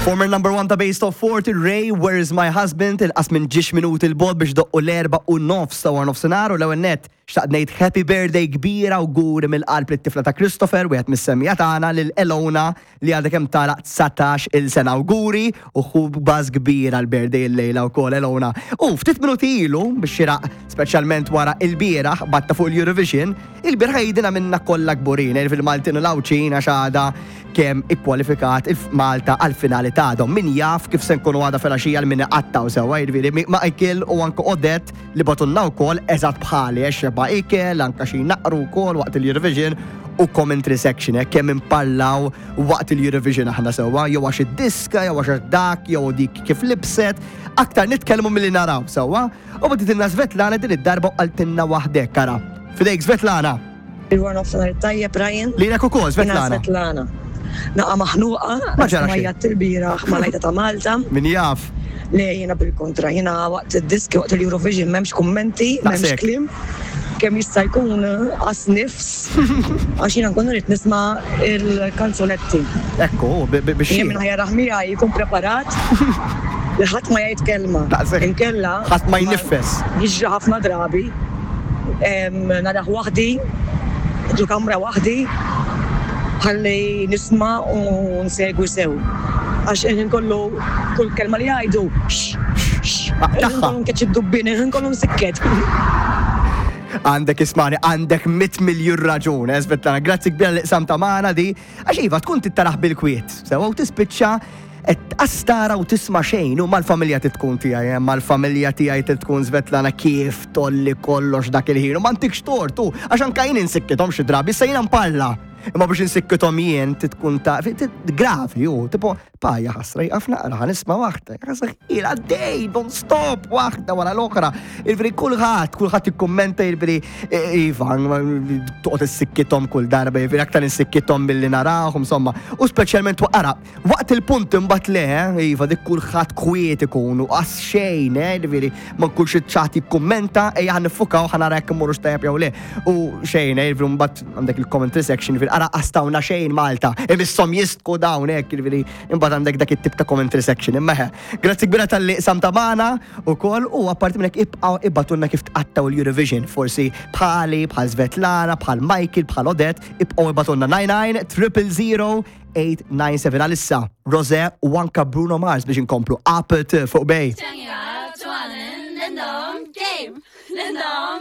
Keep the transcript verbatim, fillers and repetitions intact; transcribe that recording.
Former number one ta' Base Top forty, Raye, "Where Is My Husband?" Inqas minn ġiex minuti 'l bogħod biex idoqqu l-erbgħa u nofs ta' wara nofsinhar u l-ewwel nett xtaqt ngħid happy birthday kbira u awguri mill-qalb lit-tifla ta' Christopher, wieħed mis-semmiegħa tagħna, lil Elona li għadha kemm tagħlaq dsatax-il sena. Awguri u ħu baż kbira l-birthday il-lejla wkoll, Elona. U ftit minuti ilu biex xiraq speċjalment wara il-bieraħ batta fuq il-Eurovision, il-bieraħ jidina minna kollha kburin, fil-Maltin u l-Għawdxin, għax għada kemm ikkwalifikat il-Malta għal-finali ta' għada. Min jaf kif se nkunu għada filgħaxija l-min għattaw sewa, jiġifieri Michael u anke Odette li bagħtulna wkoll eżatt bħali, għax xeba ikel, anka xi naqru wkoll waqt il-Eurovision u commentary section, eh, kemm imparlaw waqt il-Eurovision aħna sewwa, jew għax id-diska, jew għax dak, jew dik kif libset, aktar nitkellmu milli naraw sewwa, u bagħtitilna Svetlana din id-darba u qaltilna waħdek, kara. Fidejk, Svetlana. Il-wara nofsinhar tajjeb, Ryan. Lilek ukoll, Jiena Svetlana. Svetlana. Naqa maħnuqa, Ma ġara xejn. Majja il-bieraħ ma lajta ta' Malta. Min jaf. Le, jiena bil-kontra, jiena waqt id-diski, waqt il-Eurovision, m'hemmx kummenti, m'hemmx Daqshekk. kliem. Kemm jista' jkun qas nifs, għax jiena nkun rrid nisma' il-kanzunetti. Ekku, bi- bi- biex Jien min ħa jarah miegħi jkun preparat li ħadd ma jgħid kelma. Daqshekk. Inkella Ħadd ma jnifes. Jiġri ħafna drabi. Em, Narah waħdi, ġo kamra waħdi, ħalli nisma' u nsegwi sew. Għax il-ħin kollu, kull kelma li jgħidu, x, x, Ah, il-ħin tagħha. kollu nkeċ id-dubbin, il-ħin kollu nsikket. Għandek, ismani, għandek mitt miljun raġun, eh, Svetlana. Grazzi kbira li qsamtha magħna di. Għax iva, tkun trid tarah bil-kwiet. Sewa u tispiċċa qed astara u tisma' xejn u mal-familja tkun tiegħi, eh, mal-familja tiegħi tkun, Svetlana, kif tolli kollox dak il-ħin. U ma ntikx tort, u għax anka jien insikkithom xi drabi, issa jiena mparla. Imma biex insikkithom jien tkun ta' gravi, u tipo, pa ja ħasra jqaf naqra, ħa nisma' waħda, ħasra ila dej, non stop, waħda wara l-oħra. Il-veri kulħadd, kulħadd ikkummenta, il-veri, iva, toqgħod issikkithom kull darba, il-veri aktar insikkithom milli narahom, insomma. U speċjalment waqara, waqt il-punt imbagħad le, eh, iva, dik kulħadd kwiet ikun u qas xejn, eh, il-veri ma nkunx iċ-chat jikkummenta, ejja ħa niffukaw, ħa nara jekk immorru tajjeb jew le. U xejn, eh, il-veri mbagħad għandek il-commentary section, il-veri ara qastawna xejn Malta, imisshom jistku dawn hekk, il-veri imbagħad għandek dak it-tip ta' commentary section. Imma eħe, grazzi kbira talli qsamtha magħna ukoll u apparti minn hekk ibqgħu ibagħtulna kif tqattaw l-Eurovision, forsi bħali, bħal Svetlana, bħal Michael, bħal Odette, ibqgħu ibagħtulna nine nine triple zero eight nine seven. Għalissa, Rosé u anka Bruno Mars biex inkomplu Up fuq Bay. 짱이가 좋아하는 랜덤 게임. 랜덤